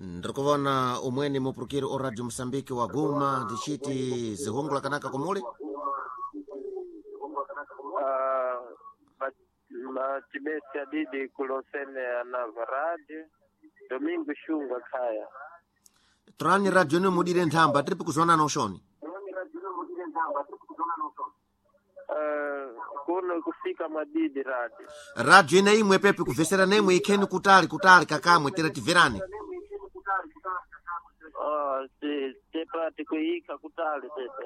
Ndiri kuvona umweni mupurukiri o Radio Moçambique waguma ndichiti zihungula kanaka kumuli. Machibesi adidi kulosene anava radio Domingo Shunga khaya. Torani radio ni mudire nthamba tiri pikuzonana ushoni. Kuno kufika madidi radio. Radio ina imwe pepi kuvesera nemwe ikheni kutali kutali kakamwe tere tiverani. Oh, si tepa tikuika kutali tepa.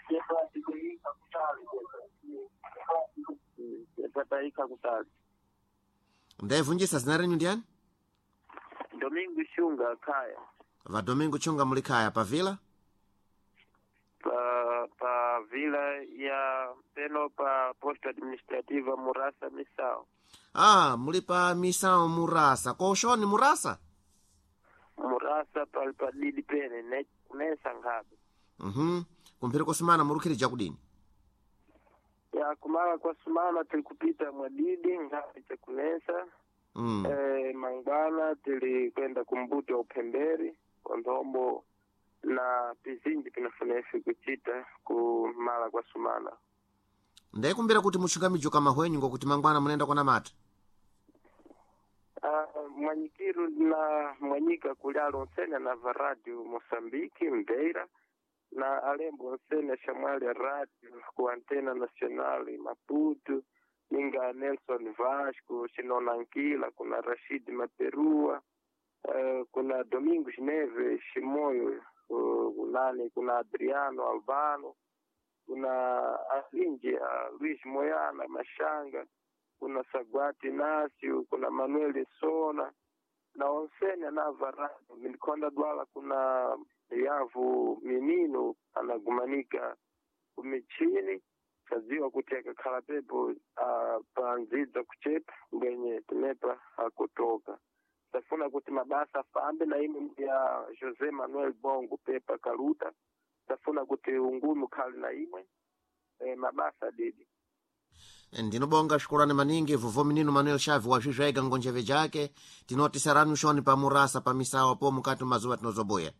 Tepa tikuika kutali tepa. Tepa taika kutali. Ndaivunjisa zina renyu ndiani? Domingo Shunga khaya. Va Domingo Chunga muli khaya pavila? Pa vila ya peno pa posta administrativa Murasa Misao. Ah, muli pa Misao Murasa. Ko ushoni Murasa? Murasa pali padidi pene ne kunesa nkhabe. Kumphiri kusumana murukhirija kudini? Ya kumala kwa sumana tilikupita mwadidi nkhabe chakunesa. Mangwana tilikwenda kumbuti wa uphemberi kwa nthombo na pizinji pinafuna ife kuchita kumala kwa sumana. Ndaikumbira kuti muchungamijo kama hwenyu ngokuti mangwana munenda kona mata. Mwanyikiru na mwanyika kulyalo nsene na va radio Moçambique Mbeira na alembo nsene shamwali radio ku antena nacional Maputo ninga Nelson Vasco Shinona Nkila kuna Rashid Maperua, kuna Domingos Neves Shimoyo, nani kuna Adriano Albano kuna Alinji Luis Moyana Mashanga kuna Sagwati Nasio kuna Manuel Sona na onsene anava radio milikonda dwala kuna yavu minino anagumanika kumichini kaziwa kuti akakhala pepo panzidza kuchepa ngwenye tinepa akutoka tafuna kuti mabasa afambe na imwe ya José Manuel Bongo pepa kaluta tafuna kuti ungumi ukhale na imwe mabasa didi. Ndinobonga shukurani maningi vuvo minino Manuel Chaves wazvizvaiga ngonjeve jake tinoti sarani ushoni pa Murasa pa Misawa po mukati mazuva tinozobuya.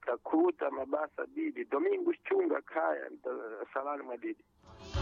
Takuta mabasa didi Domingos Chunga khaya salani mwadidi.